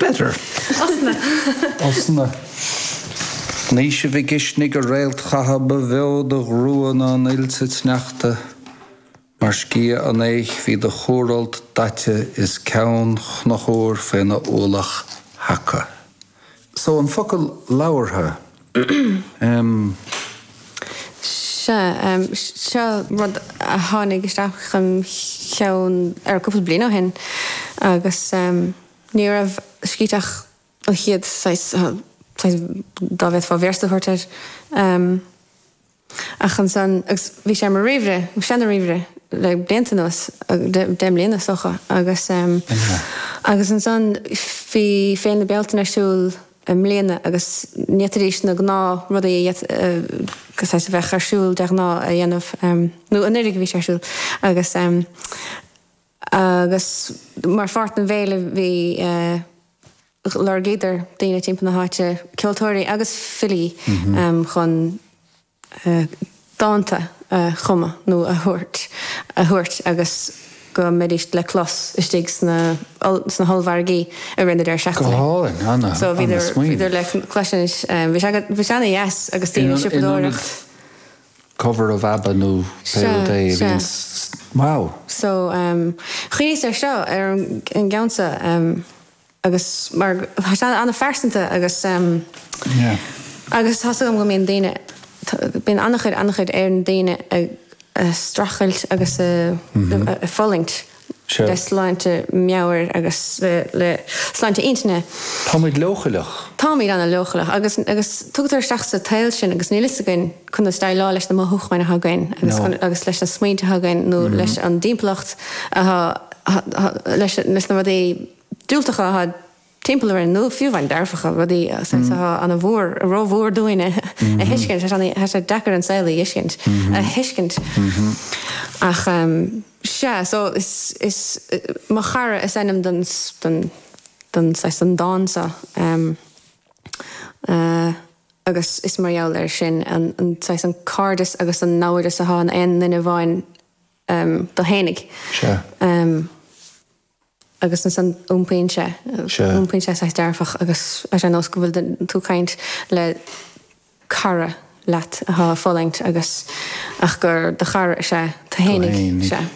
Better. Osna. Osna. Naoise Mhic Uisnigh, a réalt chatha, ba bheo do ghrua ná an fhuil sa tsneachta. Mar sciath an fhéich bhí do chúrfholt daite is ceann Chonchúir faoina ualach thaca. So an focal labhartha, em. Sea, seo rud a tháinig isteach im cheann ar cúpla bliain ó shin agus ní raibh Sciathach an chéad saghas, saghas dá bhféadfá véarsa a thabhairt air. Ach ansan, agus bhí sé ar mo ríomhaire, mo sheana-ríomhaire, le blianta anuas, 10 mbliana is dócha, agus, agus ansan bhí Féile na Bealtaine ar siúl i mbliana agus ní fhéadfaidís na gnáth rudaí a saghas a bheadh ar siúl de ghnáth a dhéanamh, nó anuraidh a bhí sé ar siúl, agus, agus mar pháirt den bhféile bhí. Lorgaíodar daoine timpeall na háite, ceoltóirí agus filí, chun dánta a chumadh nó a thabhairt a thabhairt agus go mbeidís le clos istigh sna sna hollmhargaí i rith na deireadh seachtaine. Go hálainn, ana, So bhíodar ana-smaoineamh. bhíodar le cloisint, bhí sé bhí sé ana-dheas agus daoine ag In ionad siopadóireacht. cover of ABBA nó pé Sea, rud é a sea. bhíonns, wow. So chuimhníos ar seo, ar an gceann seo. agus mar tá sé an-phearsanta agus agus tá's agam go mbíonn daoine, bíonn an-chuid an-chuid ar na daoine ag streachailt agus ag fulaingt le sláinte meabhair agus le sláinte intinne. Táimid leochaileach. Táimid an-leochaileach agus agus tugtar isteach sa tsaol sinn agus níl fhios againn conas déileáil leis na mothúcháin atá againn agus agus leis na smaointe atá againn nó leis an dtimpeallacht atá leis leis na rudaí diúltacha atá timpeall orainn, nó fiú amháin dearfacha, rudaí atá ana-mhór, rómhór dúinn a thuiscint. Tá sé deacair an saol a thuiscint, a thuiscint. Ach sea, so is, is Mo Chara is ainm don, don, don saghas, don dán seo. Agus is mar gheall air sin, an, an saghas, an cairdeas agus an naimhdeas atá in aon duine amháin dó fhéinig. Sea. Agus ansan iompaíonn sé, iompaíonn sé saghas dearfach agus tá sé ar nós go bhfuil tú ag caint le cara leat atá ag fulaingt agus ach gur do chara is ea tú fhéinig, sea.